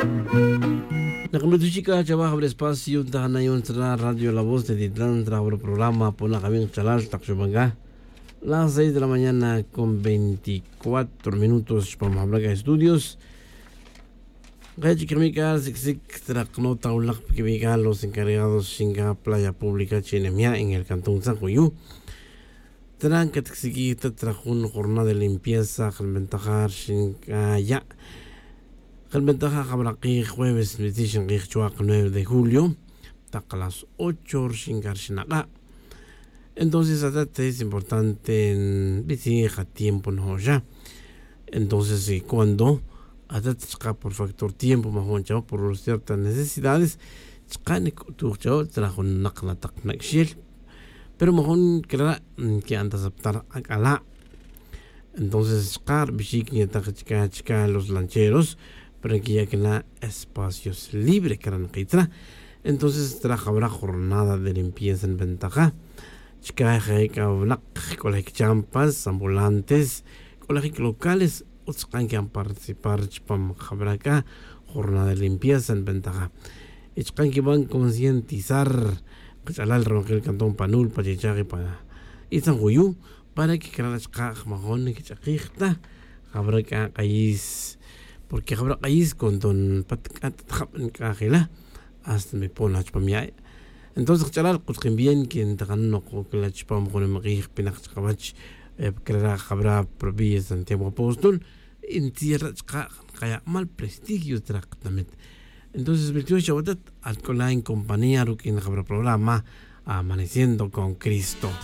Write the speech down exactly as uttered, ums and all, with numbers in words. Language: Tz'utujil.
Nak'amituxik k'a chawaj jab'ra espacio ntaj na yu'un tzra radio la voz de titlan tzra jab'ra programa ponak awin qachalal taq xuban k'a las seis de la mañana con veinticuatro minutos chupam jab'ra k'a estudios. Nqaya' chik jami' k'a siksik tzra qnota wilaq pa kiwi' k'a los encargados xin k'a playa pública chi' nemya' en el cantón tzan juyu'. Tran catcsiquij ta trajun jornada de limpieza jalbentajar xin c'a ya'. Jalbentajar jabra qij jueves nbitzij xin qij chuak nueve de julio tak las ocho rxin c'a rxin ak'a'. Entonces atat es importante nbitzij atiempo nojo'xa. Entonces cuando atat chka' por factor tiempo majo'n chao' por ciertas necesidades chka' nic'utuj chao' trajun nak la tak nac'xel. Pero majo'n clara' nqui'an ta saptar ac'ala'. Entonces chka' rbixic nyetak chka' chka' los lancheros pero nquiya' cana espacios libre clara' nkitzra. Entonces traj jabra jornada de limpieza nbentaja chka' je' c'a winak c'olejic champas ambulantes c'olejic locales utz chka' nqui'an participar chupam jabra c'a jornada de limpieza nbentaja. Y chka' nquiban concientizar kach'alal ronojel cantón panul pa chichaj y pa itzan juyu' para que clara' chka' jmajon nquich'akij ta jabra c'a k'ayis. Porque jabra k'ayis conton pat c'a ta jab nc'a jila' hasta nbipon la chupam ya'. Entonces kach'alal kutkin bien que ntakan nok cla chupam jun nimk'ij jpinak chkawach. Clara' jabra provincia santiago apóstol y ntziyara' chka' nkaya' mal prestigio tzra katamit. Entonces bitiox chawatat alc'ola' en compañía ruq'uin jabra programa amaneciendo con cristo.